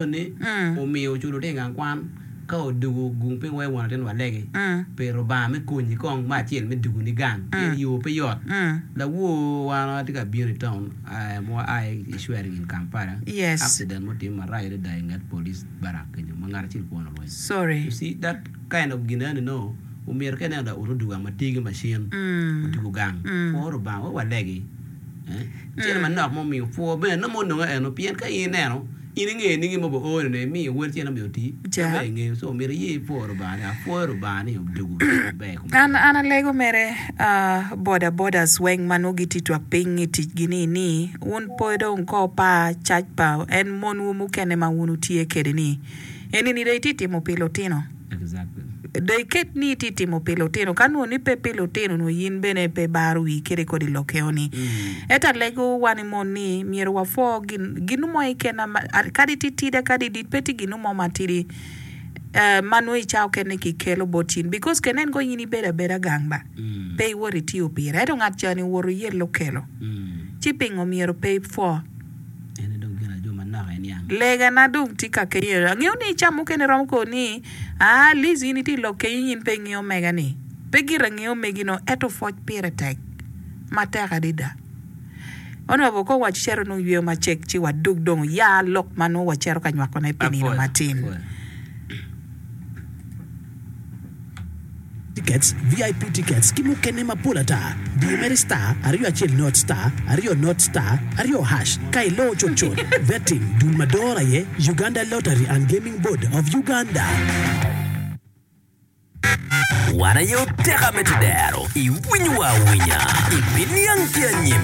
Ni omiyo oculo tye i gang kwan ka odwogo gung piny wai won latin walegi pi Rubanga me konyi kong me acel me dwogo ni gang pien yo pe yot. Lawor wan atye ka bino i town ma wa a i swearing in Kampala accident mo otime marac adada i nget police barrack kenyo ma ngat acel kwone orweny. You see that kind of gin eni nongo omyero ka ineno laot odwogo gang ma tye ki macin odwogo gang pwo Rubanga wek walegi cente manok ma omiyo pwo bene nongo ononge eno pien ka in ineno In ingeyo ningi ma oo ni imiyo wel cen omiyo oti? Pe ber ingeyo, so myero iye ipwo Rubanga ni apwoyo Rubanga ni odwogo maber i kom An an alego mere boda bodas weng ma nongo gitye twak piny i tic gi ni ni wun pe dong ko par cac pa en mon wu mukene ma wun wutye kede ni eni ni dong itye timo pi lutino. Exactly. Dong iket ni itye timo pi lutino, ka nongo ni pe pi lutino nongo in bene pe ibaro wii kede kodi lokeo ni. Ento alego wan i mon ni myero wapwo gin ginu mo keken kadi titida kadi dit pe tye ginu mo matidi ma nongo i cawa okene ki kelo bot in because ka inen kong in ibedo abeda gang ba pe iwoto itiyo pire ento ngat cani owoto oyelo okelo ci pingo myero pe ipwo. En aye dong gin ajo manok aye niang. Legana dong tye ka kenyo. Angeyo ni ca mukene romo ko ni, Aa, Liz in itye i lok kenyo in pe ingeyo omega ni. Pe gire angeyo omegi no, ento pwoc pire tek. Matek adada. Honourable kong wacito nongo yweyo macek ci wadug dong ya lok ma nongo wacito ka nywakone pi nino Apwoyo, matin. apwoyo. Tickets, VIP tickets ki mukene mapol ata. Di mere star aryo acel not star aryo not star aryo hash ka iloo cutcut. Betting dul ma doro aye Uganda Lottery and Gaming Board of Uganda. Wan aye oteka me tedero, iwinyowa awinya, ibiniang ki anyim.